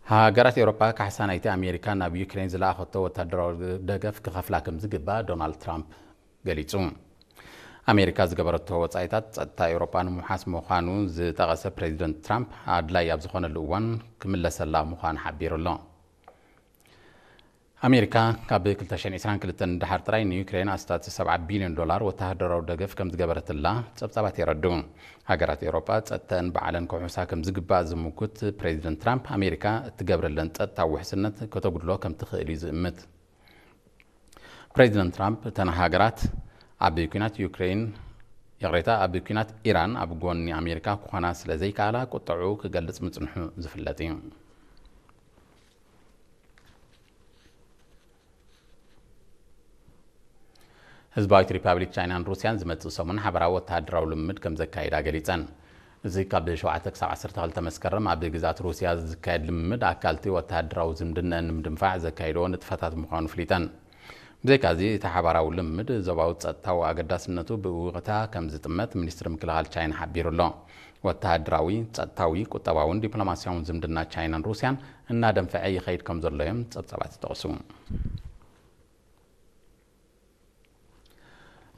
ሃገራት ኤውሮጳ ካሕሳ ናይቲ ኣሜሪካ ናብ ዩክሬን ዝለኣኸቶ ወታደራዊ ደገፍ ክኸፍላ ከም ዝግባእ ዶናልድ ትራምፕ ገሊጹ። ኣሜሪካ ዝገበረቶ ወጻኢታት ጸጥታ ኤውሮጳ ንምውሓስ ምዃኑ ዝጠቐሰ ፕሬዚደንት ትራምፕ፣ ኣድላይ ኣብ ዝኾነሉ እዋን ክምለሰላ ምዃኑ ሓቢሩ ኣሎ። ኣሜሪካ ካብ ክልተ ሽሕን ዕስራን ክልተን ንደሓር ጥራይ ንዩክሬን ኣስታት ሰብዓ ቢልዮን ዶላር ወተሃደራዊ ደገፍ ከም ዝገበረትላ ጸብጻባት የረድኡ። ሃገራት ኤውሮጳ ጸጥተን ባዕለን ክውሕሳ ከም ዝግባእ ዝምጉት ፕሬዚደንት ትራምፕ፣ ኣሜሪካ እትገብረለን ጸጥታዊ ውሕስነት ከተጉድሎ ከም ትኽእል እዩ ዝእምት። ፕሬዚደንት ትራምፕ፣ እተን ሃገራት ኣብ ኲናት ዩክሬን፣ ይቕሬታ፣ ኣብ ኲናት ኢራን ኣብ ጎኒ ኣሜሪካ ክኾና ስለ ዘይከኣላ ቁጥዑ ክገልጽ ምጽንሑ ዝፍለጥ እዩ። ህዝባዊት ሪፓብሊክ ቻይናን ሩስያን ዝመጽእ ሰሙን ሓበራዊ ወተሃደራዊ ልምምድ ከም ዘካይዳ ገሊጸን። እዚ ካብ ሸውዓተ ክሳብ ዓሰርተ ክልተ መስከረም ኣብ ግዝኣት ሩስያ ዝካየድ ልምምድ፣ ኣካልቲ ወተሃደራዊ ዝምድነአን ንምድንፋዕ ዘካይድዎ ንጥፈታት ምዃኑ ፍሊጠን። ብዘይካዚ፣ እቲ ሓባራዊ ልምምድ ዞባዊ ጸጥታዊ ኣገዳስነቱ ብእውቕታ ከም ዝጥመት ሚኒስትሪ ምክልኻል ቻይና ሓቢሩ ኣሎ። ወተሃደራዊ፣ ጸጥታዊ፣ ቁጠባውን ዲፕሎማስያውን ዝምድና ቻይናን ሩስያን እናደንፈዐ ይኸይድ ከም ዘሎ እዮም ጸብጻባት ይጠቕሱ።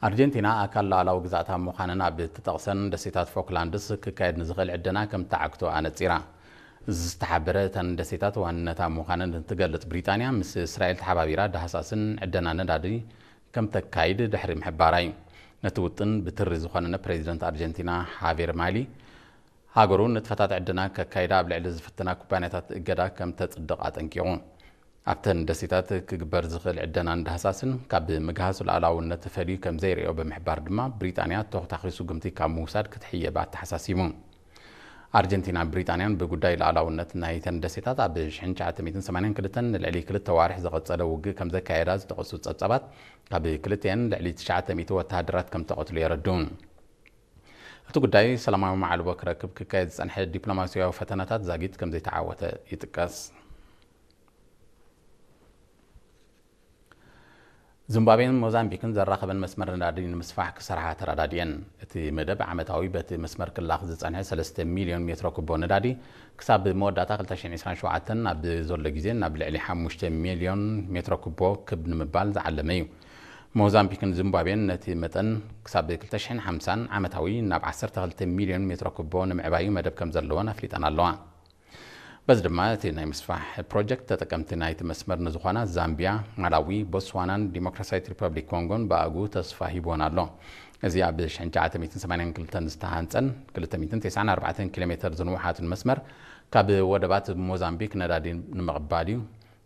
ኣርጀንቲና ኣካል ሉዓላዊ ግዝኣታ ምዃነን ኣብ እትጠቕሰን ደሴታት ፎክላንድስ ክካየድ ንዝኽእል ዕደና ከም እተዓግቶ ኣነጺራ። ዝተሓበረ እተን ደሴታት ዋንነታ ምዃነን እትገልጽ ብሪጣንያ፣ ምስ እስራኤል ተሓባቢራ ዳህሳስን ዕደና ነዳዲ ከም ተካይድ ድሕሪ ምሕባራ እዩ። ነቲ ውጥን ብትሪ ዝኾነነ ፕሬዚደንት ኣርጀንቲና ሃቬር ማሊ፣ ሃገሩ ንጥፈታት ዕደና ከካይዳ ኣብ ልዕሊ ዝፍትና ኩባንያታት እገዳ ከም ተጽድቕ ኣጠንቂቑ። ኣብተን ደሴታት ክግበር ዝኽእል ዕደናን ዳህሳስን ካብ ምግሃስ ሉዓላውነት ፈልዩ ከም ዘይርእዮ ብምሕባር ድማ፣ ብሪጣንያ ተኹታኺ ስጉምቲ ካብ ምውሳድ ክትሕየብ ኣተሓሳሲቡ። ኣርጀንቲናን ብሪጣንያን ብጉዳይ ሉዓላውነት ናይተን ደሴታት ኣብ ሽሕን ትሽዓተ ሚእትን ሰማንያን ክልተን ንልዕሊ ክልተ ዋርሕ ዝቐጸለ ውግእ ከም ዘካየዳ ዝጠቐሱ ጸብጻባት፣ ካብ ክልቲአን ልዕሊ ትሽዓተ ሚእቲ ወተሃደራት ከም ተቐትሉ የረድኡ። እቲ ጉዳይ ሰላማዊ መዓልቦ ክረክብ ክካየድ ዝጸንሐ ዲፕሎማስያዊ ፈተነታት ዛጊት ከም ዘይተዓወተ ይጥቀስ። ዚምባብዌን ሞዛምቢክን ዘራኸበን መስመር ነዳዲ ንምስፋሕ ክሰርሓ ተረዳዲኤን። እቲ መደብ ዓመታዊ በቲ መስመር ክላኽ ዝጸንሐ ሰለስተ ሚልዮን ሜትሮ ኩቦ ነዳዲ ክሳብ መወዳእታ ክልተ ሽሕን ዕስራን ሸውዓተን ኣብ ዘሎ ግዜ ናብ ልዕሊ ሓሙሽተ ሚልዮን ሜትሮ ኩቦ ክብ ንምባል ዝዓለመ እዩ። ሞዛምቢክን ዚምባብዌን ነቲ መጠን ክሳብ ክልተ ሽሕን ሓምሳን ዓመታዊ ናብ ዓሰርተ ክልተ ሚልዮን ሜትሮ ኩቦ ንምዕባዩ መደብ ከም ዘለወን ኣፍሊጠን ኣለዋ። በዚ ድማ እቲ ናይ ምስፋሕ ፕሮጀክት ተጠቀምቲ ናይቲ መስመር ንዝኾና ዛምቢያ፣ ማላዊ፣ ቦትስዋናን ዲሞክራሲያዊት ሪፐብሊክ ኮንጎን ብኣግኡ ተስፋ ሂብወን ኣሎ። እዚ ኣብ ሽሕን ትሽዓተ ሚእትን ሰማንያን ክልተን ዝተሃንጸን ክልተ ሚእትን ተስዓን ኣርባዕተን ኪሎ ሜተር ዝንውሓትን መስመር፣ ካብ ወደባት ሞዛምቢክ ነዳዲ ንምቕባል እዩ